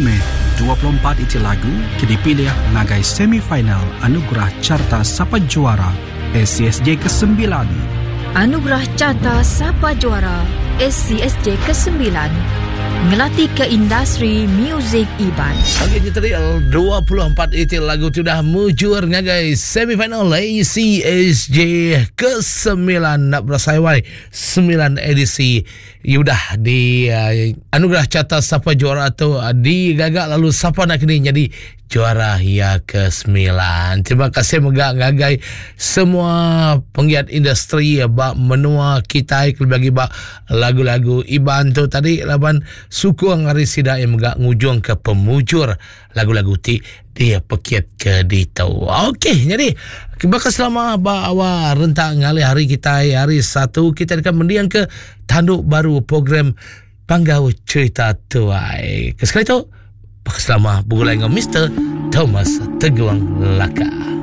meh 24 iti lagu ke dipilih ngagai semi-final Anugerah Carta Sapa Juara ACSJ kesembilan. Anugerah Carta Sapa Juara ACSJ kesembilan ngelatika industri muzik Iban. Okey, kita tadi 24 iti lagu tu dah mujur ngagai semifinal ACSJ ke-9 nak berasai wai 9 edisi udah di uh, anugerah carta sapa juara tu uh, digaga lalu sapa nak kini jadi juara ya ke-9. Terima kasih mega ngagai semua penggiat industri ba menua kitai kelebih lagi ba lagu-lagu Iban tu tadi laban sukung ari sida yang mega ngujung ke pemujur lagu-lagu ti dia pekit ke ditu. Okey, jadi bakal selama ba awal rentak ngalih hari kitai hari satu kita akan mendiang ke tanduk baru program Panggau Cerita Tuai. Ke sekali tu, selama begulai dengan Mr. Thomas Teguang Laka.